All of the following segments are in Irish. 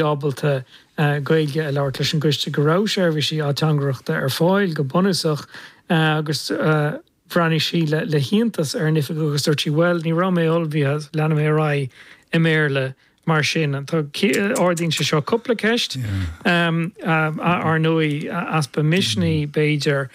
ábalta Gaeilge a labhairt leis an gcoiste, go raibh seirbhísí ateangaireachta ar fáil go bunúsach agus bhreathnaigh sí le hiontas ar an oifigeach agus dúirt sí, bhuel, ní raibh mé ullmhaithe, leanfaidh mé ar aghaidh i mBéarla mar sin. Ardaíonn sé seo cúpla ceist, ar ndóigh, easpa misnigh, b'fhéidir,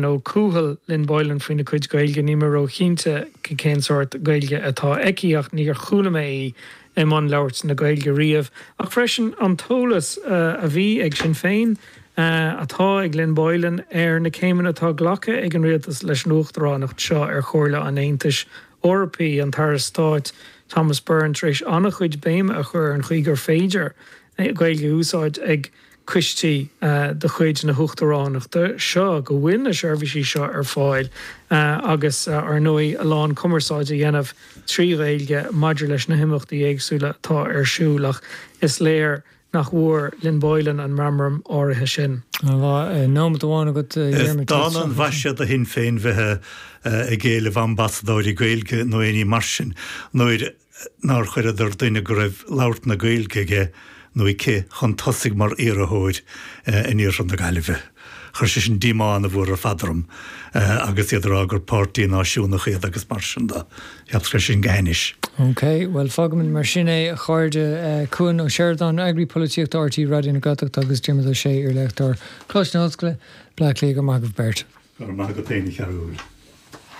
nó cúthail Lynn Boylan faoina cuid Gaeilge, níl mé róchinnte cén sórt Gaeilge atá aici ach níor chuala mé í i mbun labhairt na Gaeilge riamh, ach freisin an t-eolas a bhí ag Sinn Féin, atá ag Lynn Boylan ar na céimeanna atá glactha ag an rialtas leis an uachtaránacht seo ar Chomhairle an Aontais Eorpaigh, an tAire Stáit Thomas Byrne tar éis an-chuid béime a chur ar an chaoi gur féidir Gaeilge a úsáid ag coistí de chuid na huachtaránachta seo, go bhfuil na seirbhísí seo ar fáil agus, ar ndóigh, a lán cumarsáide a dhéanamh trí Ghaeilge maidir leis na himeachtaí éagsúla atá ar siúl. Ach is léir nach bhfuair Lynn Boylan an meamram áirithe sin. Tá nóiméad amháin agat, a Is Dhiarmuid. dána an mhaise do Shinn Féin bheith ag éileamh ambasadóirí Gaeilge nó éinní mar sin nuair nár chuireadar duine go raibh labhairt na Gaeilge aige nó aici chun tosaigh mar iarrthóir in iarthar na Gaillimhe. Chuir sé sin díomá ana-mhór ar fad orm agus iad ag rá gur páirtí náisiúnach iad agus mar sin de. Cheapas go raibh sin go hainnis. OK, bhuel fágfaimid mar sin é, a chairde. Cuan Ó Seireadáin, Eagraí Polaitíochta RTÉ Raidió na Gaeltachta agus Diarmuid Ó Sé, Iar-Léachtóir, Coláiste na hOllscoile, Bleá Cliath, go raibh maith agaibh beirt. Go raibh maith agat féin, a Chearúil.